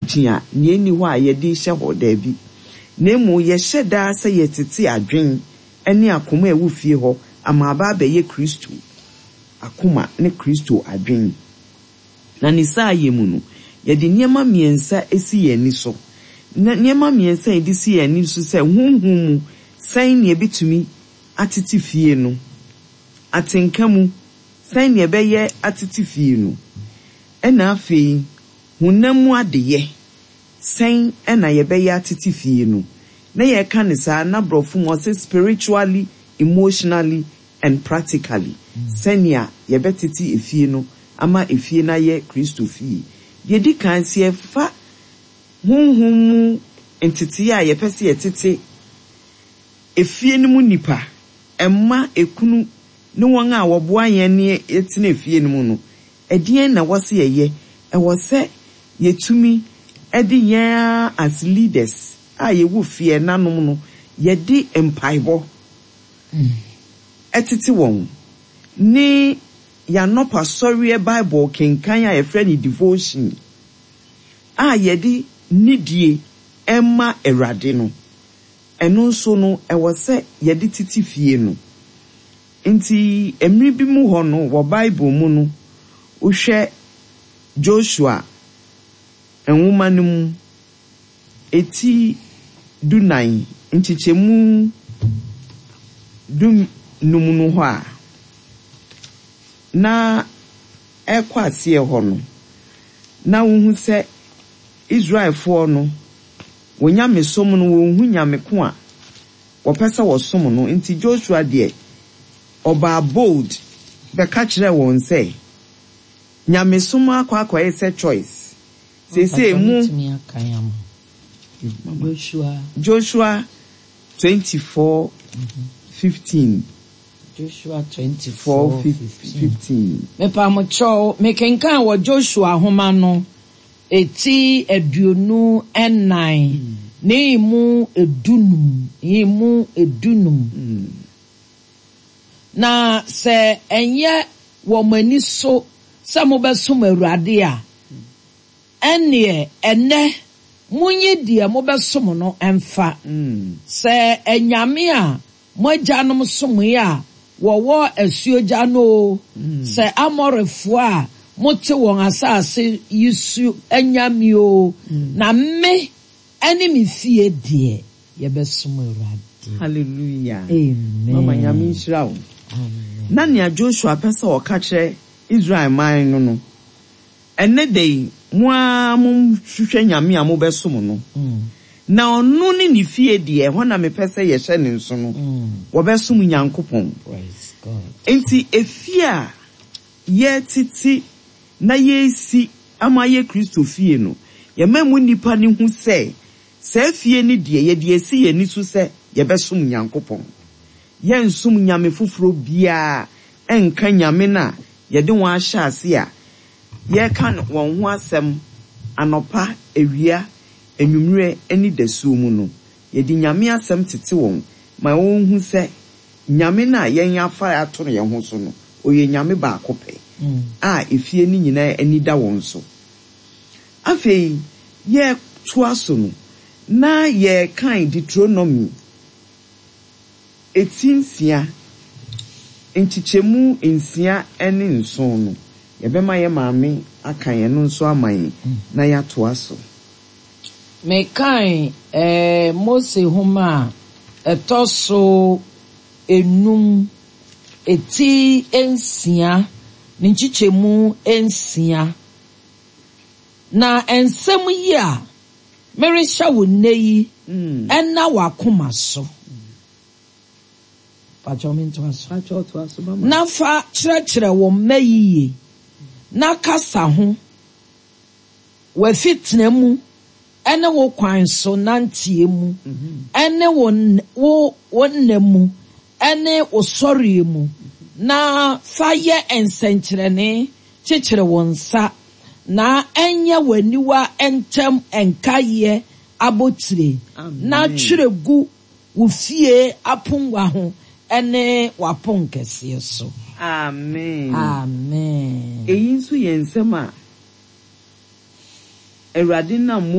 Preaching a nea enni hɔ a yɛde rehyɛ hɔ, daabi. Na mmom yɛhyɛ daa sɛ yɛtete adwene ne akoma a ɛwɔ fie hɔ ama aba abɛyɛ Kristo akoma ne Kristo adwene. Na ne saayɛ mu no, yɛde nneɛma mmiɛnsa si yɛn ani so. Na nneɛma mmiɛnsa a yɛde si yɛn ani so sɛ honhom mu sɛn na yɛbɛtumi atete fie no, atenka mu sɛn na yɛbɛyɛ atete fie no, ɛna afei honam mu adeyɛ sɛn na yɛbɛyɛ atete fie no. Na yɛka no saa na borɔfo mu ɔse spiritually, emotionally and practically, sɛnea yɛbɛtete efie no ama efie no ayɛ Kristo fie. Deɛ ɛdi kan, sɛ yɛfa honhom mu ntetee a yɛpɛ sɛ yɛtete efie no mu nnipa, mma, ekunu, ne wɔn a wɔboa yɛn ne yɛtena efie no mu no, ɛdeɛn na ɛwɔ sɛ yɛyɛ? Ɛwɔ sɛ yɛtumi de yɛn ara as leaders a yɛwɔ fie, ɛnanom no, yɛde mpaebɔ tete wɔn, ne yɛn anɔpa sɔreɛ Bible kenkan a yɛfrɛ no devotion a yɛde nidie ma Awurade no, ɛno nso no ɛwɔ sɛ yɛde tete fie no. Nti mmere bi mu hɔ no wɔ Bible mu no, wohwɛ Joshua nwoma no mu, Eti dunan, nkyekyɛmu dunum no hɔ a, na ɛrekɔ aseɛ hɔ no, na wohu sɛ Israelfoɔ no, wɔn nyamesom no, wɔnhu nyame ko a wɔpɛ sɛ wɔsom no. Nti Joshua deɛ, ɔbaa bold bɛka kyerɛɛ wɔn sɛ, nyamesom akɔ akɔyɛ sɛ choice. Seesei mo. Joshua 24:15. Joshua 24:15. Mepamokyɛw, mekenkan wɔ Joshua nhoma no eti 24 ne mu 15, mu 15. Na sɛ ɛnyɛ wɔ mo ani so sɛ mobɛsom Awurade a, ɛnneɛ ɛnnɛ monyi deɛ mobɛsom no mfa, sɛ anyame a mo agyanom somoeɛ a wɔwɔ asuogya no oo, sɛ Amorifoɔ a mote wɔn asase yi so anyame oo, na me ne me fie deɛ, yɛbɛsom Awurade. Hallelujah. Amen. Mama Nyame nhyira wo. Amen. Na nea Joshua pɛ sɛ ɔka kyerɛ Israel man no no, Ɛnnɛ da yi, mo ara monhwehwɛ nyame a mobɛsom no, na ɔno ne ne fie deɛ, ɛhɔ na mepɛ sɛ yɛhyɛ no nso no, wɔbɛsom Nyankopɔn. Enti efie a yɛretete na yɛresi ama ayɛ Kristo fie no, yɛma emu nnipa no hu sɛ saa fie no deɛ, yɛde asi yɛn ani so sɛ yɛbɛsom Nyankopɔn. Yɛrensom nyame foforɔ biara nka Nyame no a yɛde wɔn ahyɛ ase a yɛreka wɔn ho asɛm anɔpa, awia, anwummerɛ ne dasuo mu no. Yɛde Nyame asɛm tete wɔn ma wɔhu sɛ Nyame no a yɛn afa ato yɛn ho so no, ɔyɛ Nyame baako pɛ a efie no nyinaa ani da wɔn so. Afei yɛtoa so no, na yɛrekan Deuteronomy Eti nsia, nkyekyɛmu nsia ne nson no, yɛbɛma yɛn maame aka ɛno nso ama yɛn na yɛatoa so. Mekan Mose Nhoma a ɛtɔ so enum, eti nsia, ne nkyekyɛmu nsia. Na nsɛm yi a merehyɛ wo nnɛ yi nna w'akoma so. Pakyɛw mentoa so. Pakyɛw toa so mama. Na fa kyerɛkyerɛ wo mma yiye, na kasa ho w'afitena mu ne wo kwan so nanteɛ mu ne wo wo wo nna mu ne wo sɔreɛ mu, na fa yɛ nsɛnkyerɛnne kyekyere wo nsa, na ɛnyɛ w'aniwa ntam nkaeɛ abotire, na twerɛ gu wo fie aponnwa ho ne w'aponkɛseɛ so. Amen. Amen. Eyi nso yɛ nsɛm a Awurade nam.